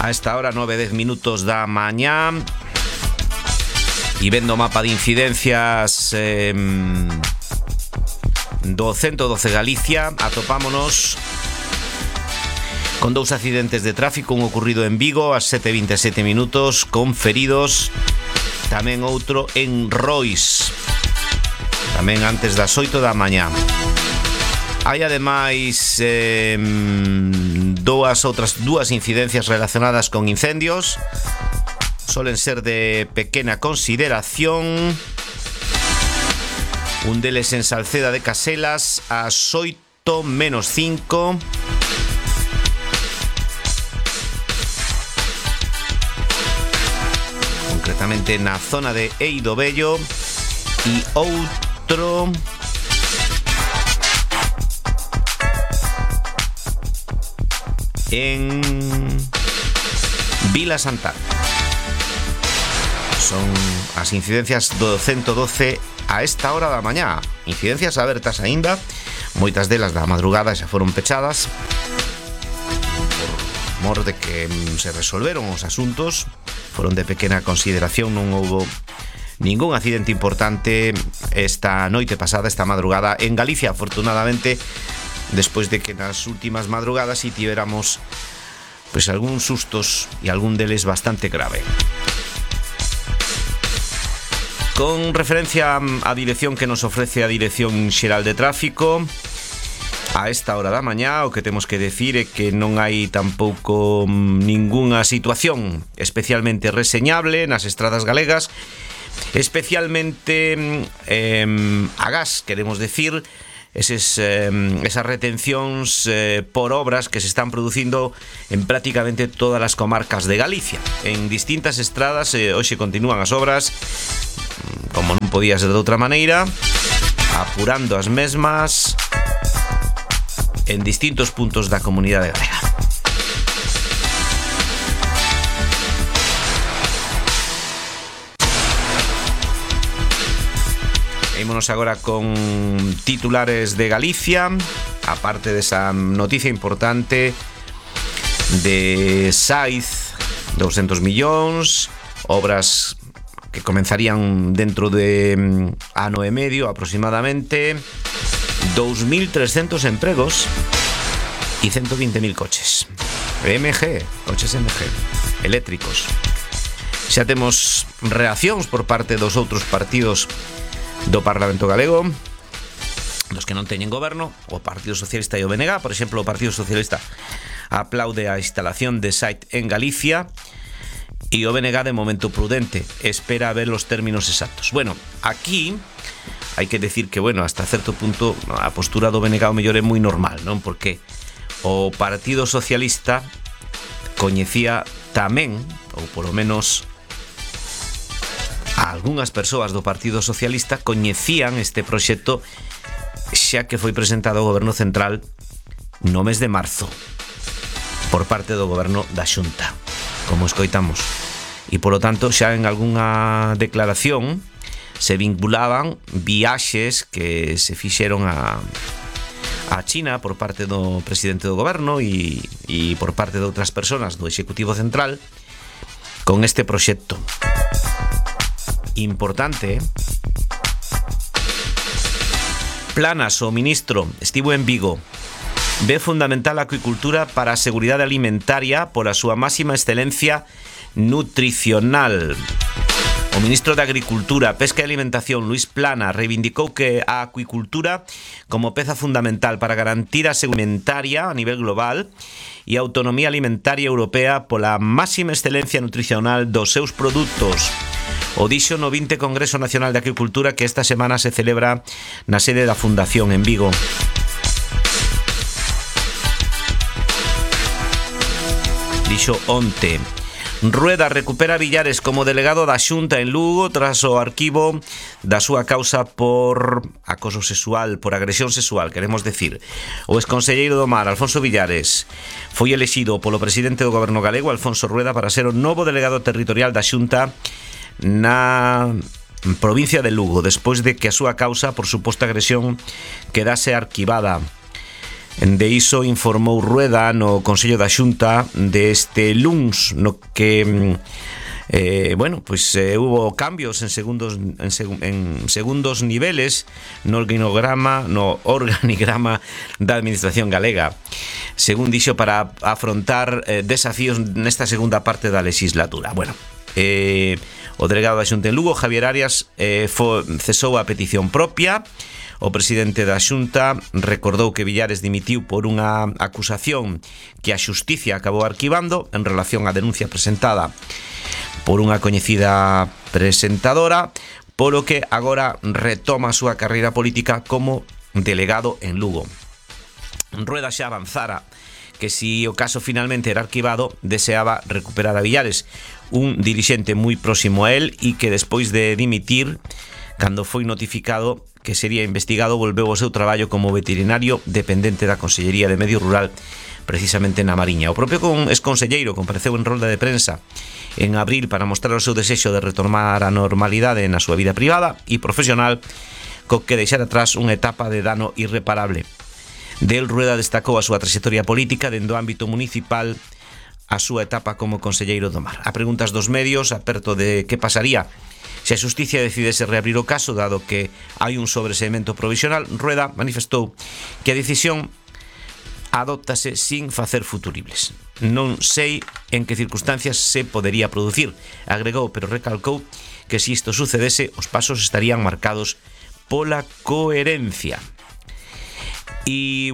A esta hora 9:10 da mañá. E vendo o mapa de incidencias do 112 Galicia, atopámonos con dous accidentes de tráfico, un ocurrido en Vigo ás 7:27 con feridos, tamén outro en Rois, tamén antes das 8 da mañá. Hai ademais dúas incidencias relacionadas con incendios. Solen ser de pequena consideración. Un deles en Salceda de Caselas ás 8:05. Concretamente na zona de Eido Vello. E outro en Vila Santana. Son as incidencias do 112 a esta hora da mañá. Incidencias abertas aínda, moitas delas da madrugada xa foron pechadas por mor de que se resolveron os asuntos. Foron de pequena consideración, non houbo ningún accidente importante esta noite pasada, esta madrugada en Galicia, afortunadamente, despois de que nas últimas madrugadas si tivéramos pois algúns sustos e algún deles bastante grave. Con referencia á dirección que nos ofrece a Dirección Xeral de Tráfico, a esta hora da mañá o que temos que decir é que non hai tampouco ningunha situación especialmente reseñable nas estradas galegas, especialmente agás, queremos decir, esas retencións por obras que se están producindo en prácticamente todas as comarcas de Galicia. En distintas estradas hoxe continúan as obras, como non podía ser de outra maneira, apurando as mesmas en distintos puntos da comunidade galega. Ímonos agora con titulares de Galicia, aparte desa noticia importante de Saiz, 200 millóns, obras que comenzarían dentro de ano e medio aproximadamente, 2.300 empregos e 120.000 coches coches MG eléctricos. Xa temos reaccións por parte dos outros partidos do Parlamento Galego, dos que non teñen goberno, o Partido Socialista e o BNG. Por exemplo, o Partido Socialista aplaude a instalación de Saiz en Galicia e o BNG de momento prudente, espera a ver os términos exactos. Bueno, aquí hai que decir que, bueno, hasta certo punto a postura do BNG ao mellor é moi normal, non? Porque o Partido Socialista coñecía tamén, ou polo menos algunhas persoas do Partido Socialista coñecían este proxecto xa que foi presentado ao Goberno Central no mes de marzo por parte do Goberno da Xunta, como escoitamos, e polo tanto xa en algunha declaración se vinculaban viaxes que se fixeron a China por parte do presidente do Goberno e por parte de outras persoas do Executivo Central con este proxecto importante. Planas, o ministro, estivo en Vigo. Ve fundamental a acuicultura para a seguridade alimentaria pola súa máxima excelencia nutricional. O ministro de Agricultura, Pesca e Alimentación, Luís Planas, reivindicou que a acuicultura como peza fundamental para garantir a seguridade alimentaria a nivel global e a autonomía alimentaria europea pola máxima excelencia nutricional dos seus produtos. O dixo no 20 Congreso Nacional de Agricultura que esta semana se celebra na sede da Fundación en Vigo. Dixo onte. Rueda recupera Villares como delegado da Xunta en Lugo tras o arquivo da súa causa por acoso sexual, por agresión sexual, queremos decir. O exconselleiro do Mar, Alfonso Villares, foi elixido polo presidente do Goberno galego, Alfonso Rueda, para ser o novo delegado territorial da Xunta na provincia de Lugo, despois de que a súa causa por suposta agresión quedase arquivada. De iso informou Rueda no Consello da Xunta deste luns, no que hubo cambios en segundos niveles no organigrama da Administración galega, según dixo, para afrontar desafíos nesta segunda parte da legislatura. O delegado da Xunta en Lugo, Javier Arias, cesou a petición propia. O presidente da Xunta recordou que Villares dimitiu por unha acusación que a Xusticia acabou arquivando en relación á denuncia presentada por unha coñecida presentadora, polo que agora retoma a súa carreira política como delegado en Lugo. Rueda xa avanzara que si o caso finalmente era arquivado, deseaba recuperar a Villares, un dirixente moi próximo a él e que despois de dimitir, cando foi notificado que sería investigado, volveu ao seu traballo como veterinario dependente da Consellería de Medio Rural, precisamente na Mariña. O propio exconselleiro compareceu en rolda de prensa en abril para mostrar o seu desexo de retomar a normalidade na súa vida privada e profesional, co que deixar atrás unha etapa de dano irreparable. Del Rueda destacou a súa trayectoria política dentro do ámbito municipal, a súa etapa como conselleiro do Mar. A preguntas dos medios aperto de que pasaría se a Xusticia decidese reabrir o caso, dado que hai un sobreseimento provisional, Rueda manifestou que a decisión adóptase sin facer futuribles. Non sei en que circunstancias se podería producir, agregou, pero recalcou que se isto sucedese, os pasos estarían marcados pola coherencia. E,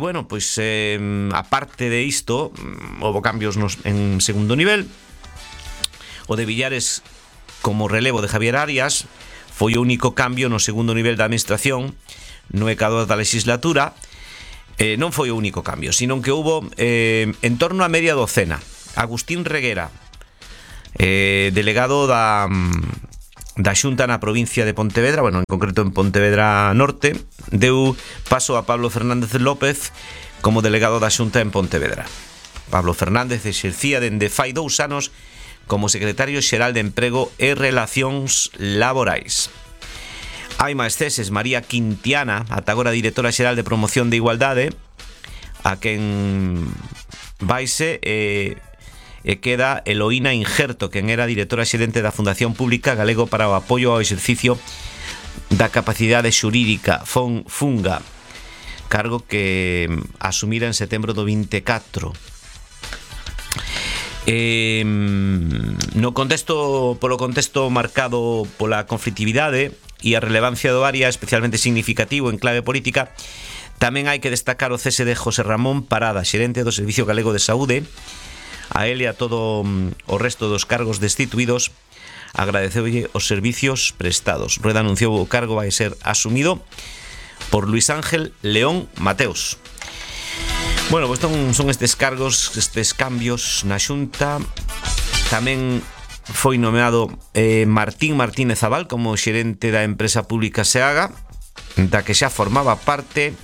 aparte de isto, houve cambios en segundo nivel. O de Villares como relevo de Javier Arias foi o único cambio no segundo nivel da administración no ecador da legislatura. Non foi o único cambio, sino que houve en torno a media docena. Agustín Reguera, delegado da Xunta na provincia de Pontevedra, en concreto en Pontevedra Norte, deu paso a Pablo Fernández López como delegado da Xunta en Pontevedra. Pablo Fernández exercía dende fai 2 anos como secretario xeral de Emprego e Relacións Laborais. Hai máis ceses. María Quintiana, ata agora directora xeral de Promoción de Igualdade, a quen vaise e queda Eloína Injerto, quen era directora xerente da Fundación Pública Galego para o Apoio ao Exercicio da Capacidade Xurídica, FUNGA, cargo que asumira en setembro do 24. Polo contexto marcado pola conflitividade e a relevancia do área especialmente significativo en clave política, tamén hai que destacar o cese de José Ramón Parada, xerente do Servicio Galego de Saúde. A él e a todo o resto dos cargos destituídos agradeceulle os servicios prestados. Rueda anunciou o cargo vai ser asumido por Luis Ángel León Mateos. Son estes cargos, estes cambios na Xunta. Tamén foi nomeado Martín Martínez Abal como xerente da empresa pública SEAGA, da que xa formaba parte.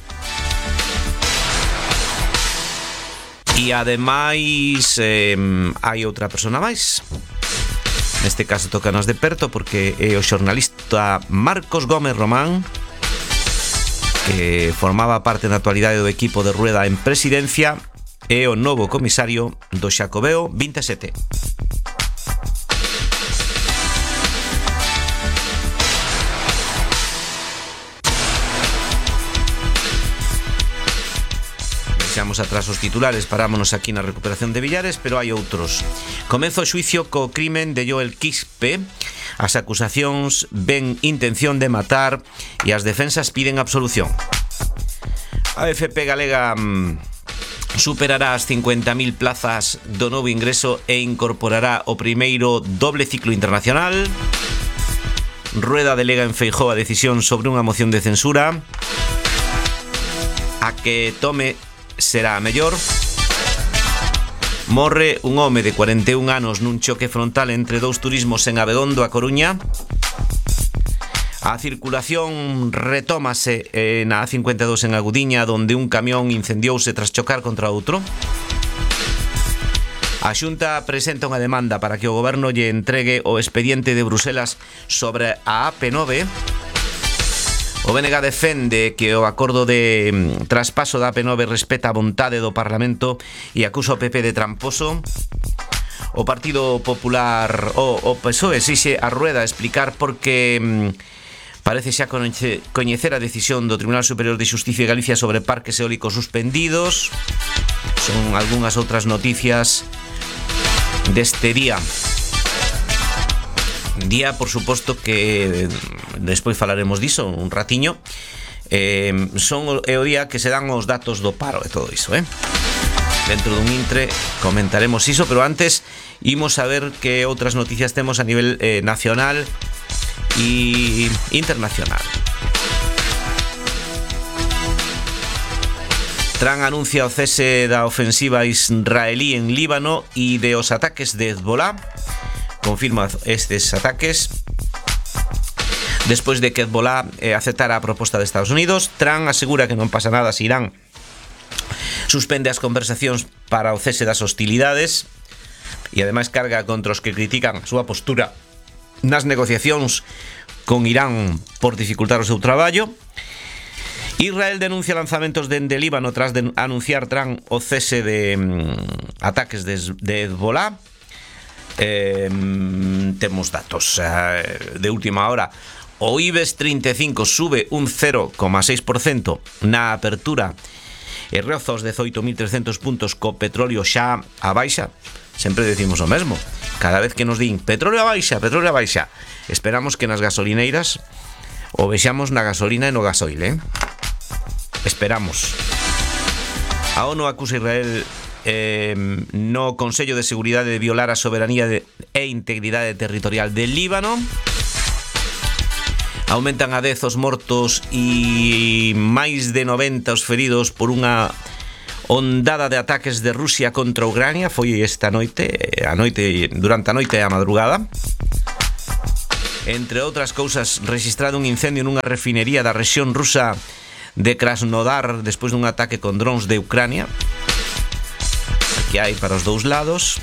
E ademais hai outra persona máis. Neste caso tócanos de perto porque é o xornalista Marcos Gómez Román, que formaba parte na actualidade do equipo de Rueda en presidencia, e o novo comisario do Xacobeo 27. Deixamos atrás os titulares, parámonos aquí na recuperación de Villares, pero hai outros. Comeza o xuicio co crimen de Joel Quispe. As acusacións ven intención de matar e as defensas piden absolución. A FP galega superará as 50.000 plazas do novo ingreso e incorporará o primeiro doble ciclo internacional. Rueda delega en Feijóo a decisión sobre unha moción de censura. A que tome será a mellor. Morre un home de 41 anos nun choque frontal entre dous turismos en Abegondo, a Coruña. A circulación retómase na A52 en Agudiña, donde un camión incendiouse tras chocar contra outro. A Xunta presenta unha demanda para que o goberno lle entregue o expediente de Bruselas sobre a AP9. O BNG defende que o acordo de traspaso da AP9 respeta a vontade do Parlamento e acusa o PP de tramposo. O Partido Popular, o PSOE, exixe a Rueda explicar por que parece xa coñecer a decisión do Tribunal Superior de Xusticia de Galicia sobre parques eólicos suspendidos. Son algunhas outras noticias deste día. Día, por suposto, que despois falaremos diso un ratiño. É o día que se dan os datos do paro e todo iso, Dentro dun intre comentaremos iso, pero antes imos a ver que outras noticias temos a nivel nacional e internacional. Trump anuncia o cese da ofensiva israelí en Líbano e de os ataques de Hezbollah. Confirma estes ataques. Despois de que Hezbollah aceptara a proposta de Estados Unidos, Trump asegura que non pasa nada se Irán suspende as conversacións para o cese das hostilidades e ademais carga contra os que critican a súa postura nas negociacións con Irán por dificultar o seu traballo. Israel denuncia lanzamentos dende Líbano tras de anunciar Trump o cese de ataques de Hezbollah. Temos datos de última hora. O IBEX 35 sube un 0,6% na apertura e roza os 18.300 puntos co petróleo xa a baixa. Sempre decimos o mesmo, cada vez que nos din petróleo a baixa, esperamos que nas gasolineiras o vexamos na gasolina e no gasoil, esperamos. A ONU acusa a Israel no Consello de Seguridade de violar a soberanía e integridade territorial de Líbano. Aumentan a 10 os mortos e máis de 90 os feridos por unha ondada de ataques de Rusia contra Ucrania. Foi esta noite, durante a noite e a madrugada. Entre outras cousas, registrado un incendio nunha refinería da rexión rusa de Krasnodar despois dun ataque con drones de Ucrania. Que hai para os dous lados.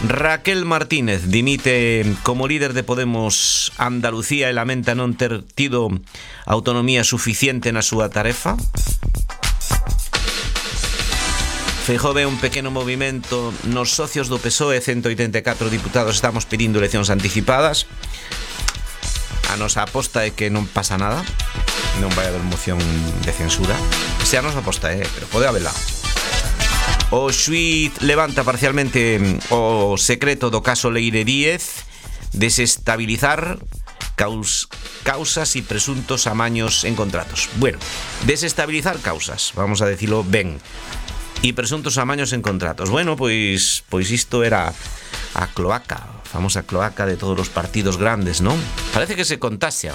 Raquel Martínez dimite como líder de Podemos Andalucía e lamenta non ter tido autonomía suficiente na súa tarefa. Feijóo ve un pequeno movimento nos socios do PSOE, 184 diputados estamos pedindo eleccións anticipadas. A nosa aposta é que non pasa nada, non vai haber moción de censura. Esa é a nosa aposta, pero pode habela. O xuíz levanta parcialmente o secreto do caso Leire Díez, desestabilizar causas e presuntos amaños en contratos. Bueno, desestabilizar causas, vamos a decirlo ben, e presuntos amaños en contratos. Bueno, pois isto era a cloaca, a famosa cloaca de todos os partidos grandes, non? Parece que se contaxian.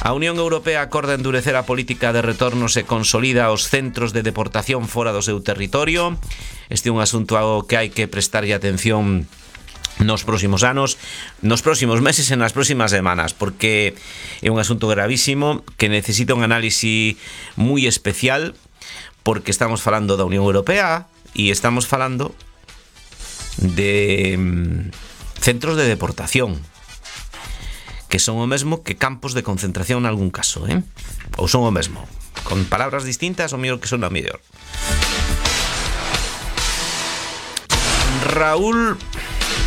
A Unión Europea acorda endurecer a política de retornos e consolida os centros de deportación fora do seu territorio. Este é un asunto ao que hai que prestarlle atención nos próximos anos, nos próximos meses e nas próximas semanas, porque é un asunto gravísimo que necesita un análisis moi especial, porque estamos falando da Unión Europea e estamos falando de centros de deportación, que son o mesmo que campos de concentración en algún caso, ou son o mesmo, con palabras distintas o mellor que son a mellor. Raúl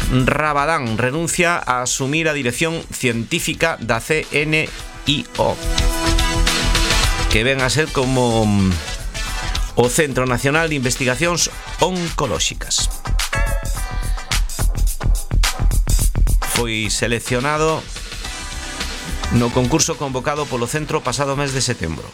Rabadán renuncia a asumir a dirección científica da CNIO, que ven a ser como o Centro Nacional de Investigacións Oncolóxicas. Foi seleccionado no concurso convocado polo centro pasado mes de setembro.